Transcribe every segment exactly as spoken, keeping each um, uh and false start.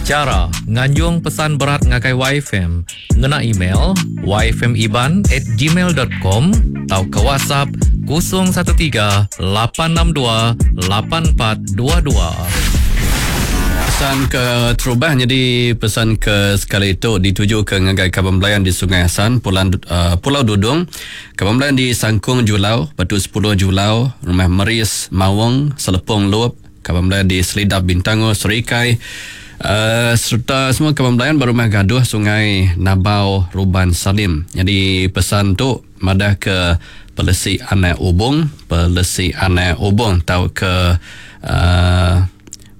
Chara nganjung pesan berat ngagai Y F M ngena email y f m iban at gmail dot com tauka WhatsApp kosong satu tiga lapan enam dua lapan empat dua dua. Pesan ke terubah jadi pesan ke sekali itu dituju ke ngagai Kaban Belayan di Sungai Hasan, Pulau, uh, Pulau Dudung, Kaban Belayan di Sangkung Julau, Batu sepuluh Julau, Rumah Meris, Mawang, Selepong Lup, Kaban Belayan di Selidap Bintango, Serikai, uh, serta semua Kaban Belayan berumah gaduh Sungai Nabau Ruban Salim. Jadi pesan tu madah ke Pelesi Anak Ubung, Pelesi Anak Ubung tau ke uh,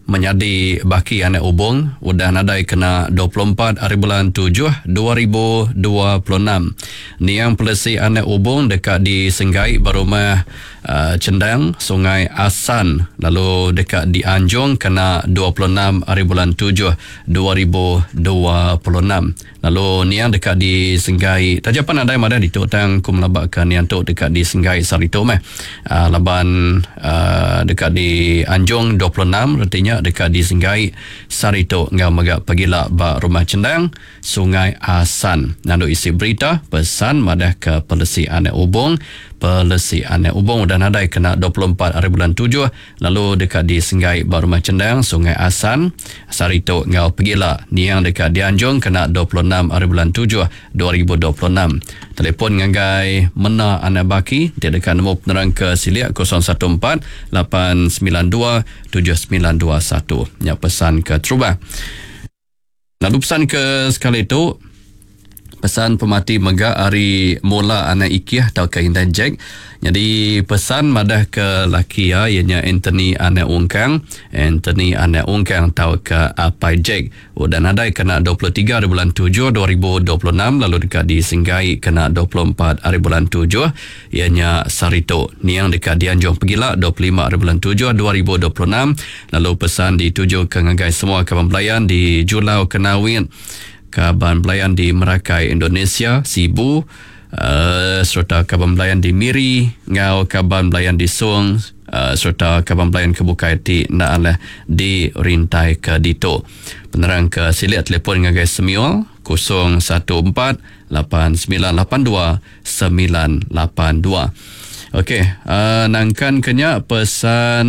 menjadi baki anak ubung udah nadai kena dua puluh empat hari bulan tujuh dua ribu dua puluh enam. Niang Pelesi Anak Ubung dekat di Senggai berumah uh, Cendang Sungai Asan lalu dekat di Anjung kena dua puluh enam hari bulan tujuh dua ribu dua puluh enam. Lalu niang dekat di Senggai tajapan nadai madah ditu tang ku melabakkan niang tu dekat di Senggai saritu meh. Uh, laban uh, dekat di Anjung dua puluh enam retinya dekat di Senggai saritu ngau mega pagila ba Rumah Cendang Sungai Asan. Nandu isi berita pesan madah ke Pelesi Anak Ubung, Pelesi Anak Ubung udah nadai kena dua puluh empat hari bulan tujuh lalu dekat di Senggai ba Rumah Cendang Sungai Asan saritu ngau pagila niang dekat di Anjung kena dua puluh enam hari bulan tujuh dua ribu dua puluh enam. Telefon ngagai Mena Anak Baki dia dekat nemu penerang ke siliak kosong satu empat lapan sembilan dua tujuh sembilan dua satu. Ya pesan ke terubah. Lalu pesan ke sekali tu pesan pemati mega hari mula anak Ikiah atau ke Intan Jack. Jadi pesan madah ke laki ya ianya Anthony anak Ungkang, Anthony anak Ungkang atau ke Apai Jack. Udah nadai kena dua puluh tiga hari bulan tujuh dua ribu dua puluh enam lalu dekat di Senggai kena dua puluh empat hari bulan tujuh ianya Sarito. Niang dekat di Anjung Pegila dua puluh lima hari bulan tujuh dua ribu dua puluh enam lalu pesan dituju ke ngagai semua kaban belayan di Julau Kenawin, kaban belayan di Merakai Indonesia, Sibu, uh, serta kaban belayan di Miri, ngau kaban belayan di Song, uh, serta kaban belayan ke Bukai ti nak alah di Rintai ke Dito. Penerang ke siliak telefon ngagai Semiul kosong satu empat lapan sembilan lapan dua sembilan lapan dua. Okey, uh, nangkan kenya pesan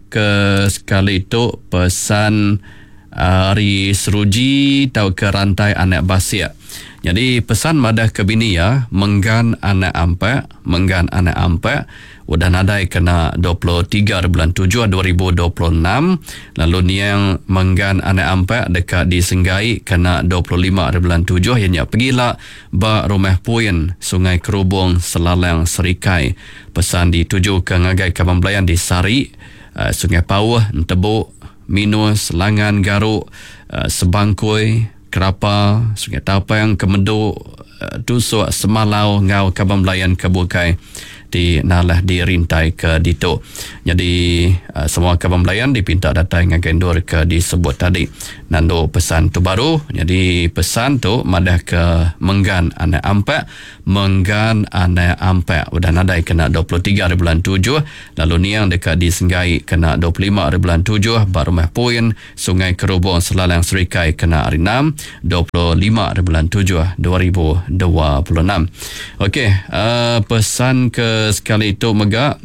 ke sekali tu pesan hari seruji tau ke rantai anak basiak. Jadi pesan madah ke bini ya, menggan anak ampak, menggan anak ampak udah nadai kena dua puluh tiga bulan tujuh dua ribu dua puluh enam lalu niang menggan anak ampak dekat di Senggai kena dua puluh lima bulan tujuh ianya pergilah ba Rumah Puin Sungai Kerubung Selalang Serikai. Pesan dituju ke ngagai kaban belayan di Sari, uh, Sungai Pauh, Entebuk, Minus, Langan, Garuk, uh, Sebangkui, Kerapa, Sungai Tapang, Kemeduk, uh, Tusuk, Semalau, ngau kaban belayan ke Bukai di nalah di Rintai ke Dito. Jadi uh, semua kaban belayan dipinta datang ngagai endur ke disebut tadi. Nando pesan tu baru. Jadi pesan tu madah ke menggan anak ampak, menggan anak ampak udah nadai kena dua puluh tiga hari bulan tujuh lalu niang dekat di Senggai kena dua puluh lima hari bulan tujuh ba Rumah Puin Sungai Kerubung Selalang Serikai kena hari enam dua puluh lima hari bulan tujuh dua ribu dua puluh enam. Okey, uh, pesan ke sekali itu mega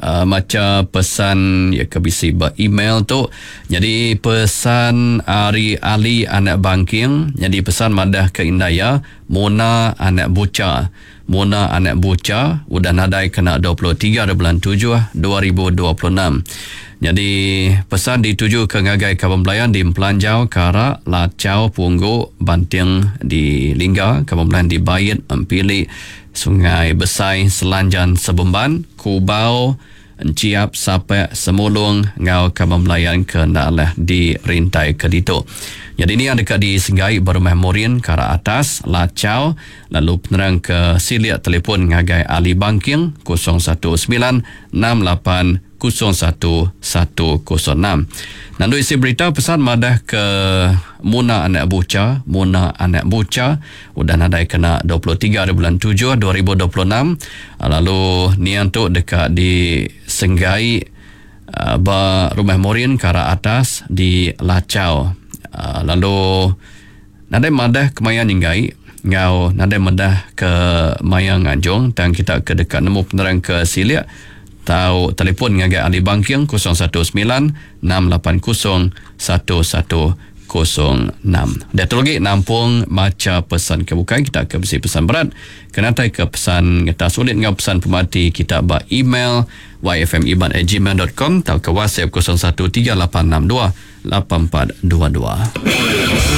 uh, maca pesan ya ke bisi ba email tu. Jadi pesan Ari Ali anak Bangking, jadi pesan madah ke Indaya Mona anak Buca. Mona anak Buca udah nadai kena dua puluh tiga bulan tujuh dua ribu dua puluh enam. Jadi pesan dituju ke ngagai kaban belayan di Pelanjau, Karak, Lacau, Punggu, Banting di Lingga, kaban belayan di Bayit, Empili, Sungai Besai, Selanjan, Sebemban, Kubau, Enciap, Sapek, Semulung, ngau kaban belayan ke Nalah di Rintai ke Dito. Jadi ini yang dekat di Senggai Berumah Morin, Karak Atas, Lacau, lalu penerang ke siliak telefon ngagai Ali Bangking kosong satu sembilan enam lapan kosong satu satu kosong enam. Nandu isi berita pesan madah ke Muna anak Buca, Muna anak Buca udah nadai kena dua puluh tiga hari bulan tujuh dua ribu dua puluh enam. Lalu niang tu dekat di Senggai uh, ba Rumah Morin Karak Atas di Lacau. Uh, lalu nadai madah kemaya nyenggai ngau nadai madah ke maya nganjung tang kita ke deka nemu penerang ke silik tau telefon ngagai Ali Bangking kosong satu sembilan enam lapan kosong satu satu kosong enam. Dia tu lagi nampung maca pesan ke bukai kita ke besi pesan berat kena tai ke pesan ngetas sulit ngau pesan pemati kita ba email y f m iban at gmail dot com atau ke WhatsApp kosong satu tiga lapan enam dua lapan empat dua dua.